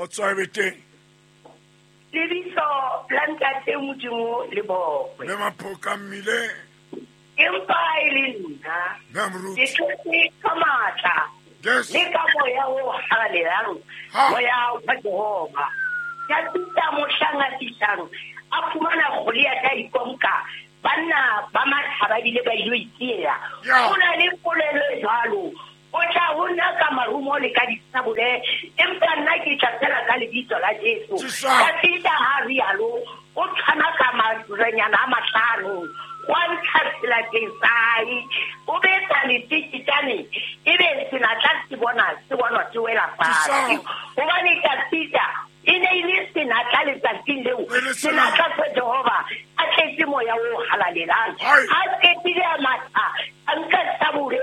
Kgotso e be teng. Lebitso la Ntate Modimo le bokwe. Mme Maphoka mmileng. Empa e le nna. Mme Moruti. Ke thotse ka matla. Yes. Le ka moya o halalelang. Ha. Moya wa Jehova. Ka fihla mohlang a fihlang, a fumana Goliath a ikonka. Banna ba matha ba bile ba ilo itiela. Yeah. Ho na le polelo e jwalo. O tla ho nna ka marumo le ka disabole, empa nna ke tla fela ka lebitso la Jesu. Jesu. Ka fihla ha rialo, o tshwana ka marenyana a mahlano. Wa ntsha selateng sa hae, o betsa leteketane, ebe senatla se bona, se bonwa se wela fatshe. Jesu. Hobane Dafida e ne e le senatla letsatsing leo, E le senatla sa Jehova, a tletse moya o halalelang. Hai. A qetile a matha, a nka sabole,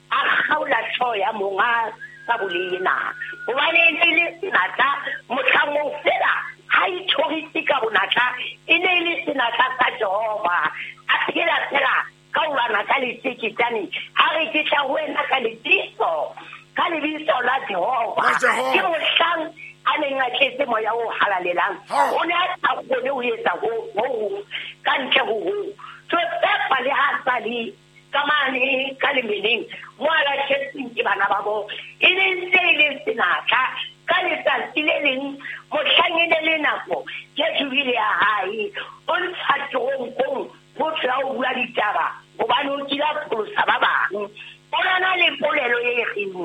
a kgaola hlooho ya monga sabole ena. Hobane e ne e le senatla, mohlang oo fela, ha ithorise ka bonatla, e ne e le senatla sa Jehova. A phela fela ka ho lwana ka leteketane, ha re ke tla ho wena ka lebitso, ka lebitso la Jehova. La Jehova. Ke mohlang a neng a tletse moya o halalelang. Ha. O ne a sa kgone ho etsa ho hong ka ntle ho hoo. Josefa le ha sa le ka mane ka lemeneng, mo a lahletsweng ke bana ba bo, e ne ntse e le senatla. Ka letsatsi le leng, mohlang e ne le nako ya jubile ya hae, o ntsha teronkong motho ya ho bua ditaba, hobane o kile a pholosa ba bang. O na le polelo e reng,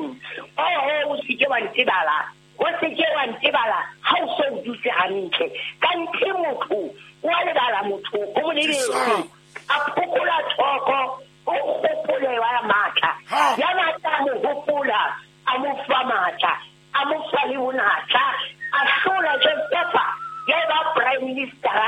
oho, o se ke wa ntebala, o se ke wa ntebala ha o so o dutse hantle. Ka nthe motho, o a lebala motho, o mo lebetse. Jesu. A phokola thoko, o hopole wa matla. Ha. Ya matla a mo hopola, a mo fa matla, a mo fa le bonatla, a hlola Josefa, ya eba prime minister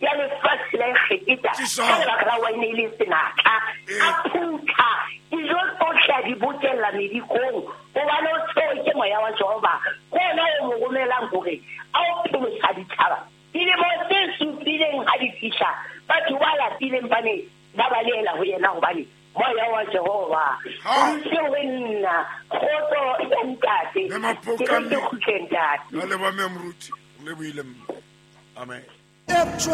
ya lefatshe la Egepeta. Jesu. Ka lebaka la wine e le senatla. Eh. A phutha dijo tsohle a di bokella medikong, hobane o tshwerwe ke moya wa Jehova. Ke ona o mo romelang hore a o pholosa ditjhaba. Dilemo tse supileng ha di fihla, batho ba lapileng ba ne ba balehela ho yena hobane moya wa Jehova Ha. o ntse ho nna. Kgotso ya ntate. Mme Maphoka Ke re ke mme. kgutle ntate. Ka leboha mme Moruti. Re lebohile mme. Amen. Eptra